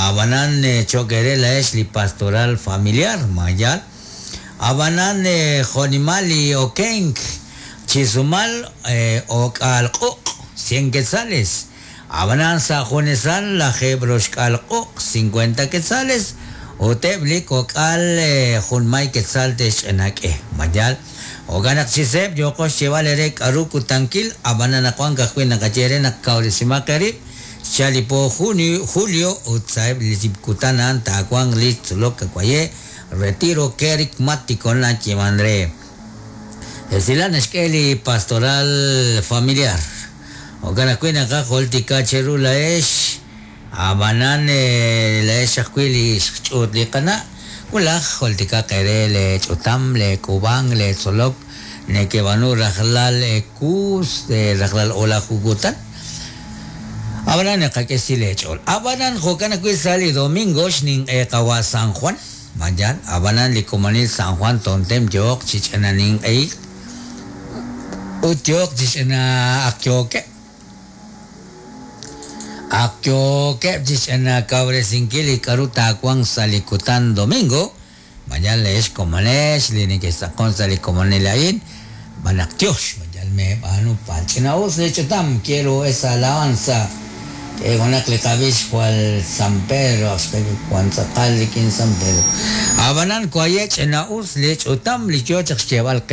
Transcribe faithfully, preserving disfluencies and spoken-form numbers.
Ab'anan cho'q eere laa'ex li pastoral familiar mayal. Ab'anan jo'nimal li okenk chi sumal o'k'aal q'uq' cien quetzales. Ab'anan sa' junesal lajeeb' roxk'aal q'uq' cincuenta quetzales ut eb' li kok'al junmay quetzal te'xch'inak'e mayal. Jo'kan naq chi seeb' yooqo xyeeb'al eere k'aru kutankil ab'anan anaqwan ka'ajwi' naqaye eere naq kawresimaq eerib' xchal li po junio julio ut sa'eb' li kutan a'an taawanq li tzolok kawaye retiro kerigmático nayeeman re. Esilal naxk'e li pastoral familiar. Jo'kan ajwi' naqajultika cheru laa'ex ab'anan laa'ex ajwi' li xch'uut li qana' wulaj jultikaq eere le ch'utam le k'uub'ank le tzolok nekeb'aanu rajlal kuus rajlal o'laju kutan. Ab'anan naqak'e xsil eech'ool. Ab'anan jo'kan ajwi' sa' li domingo xninq'e qawa' San Juan. Mayan, ab'anan li komonil San Juan tontem yooq chi ch'ina ninq'ehik ut yooq chi ch'ina ak yookeb'. Ak yookeb' chi ch'ina kawresinkil li k'aru taawanq sa' li kutan domingo. Mayan leex komonex li neke'xtz'aqon sa' li komonil a'in. B'anaq tiox, mayan meb'aanu pal ch'ina us li ch'utam quiero esa alabanza. Junaq li qab'ix jwal San Pedro wan tz'aqal rik'in San Pedro. Ab'anan waye' ch'ina us li ch'utam li yoo chaq xyeeb'al qe.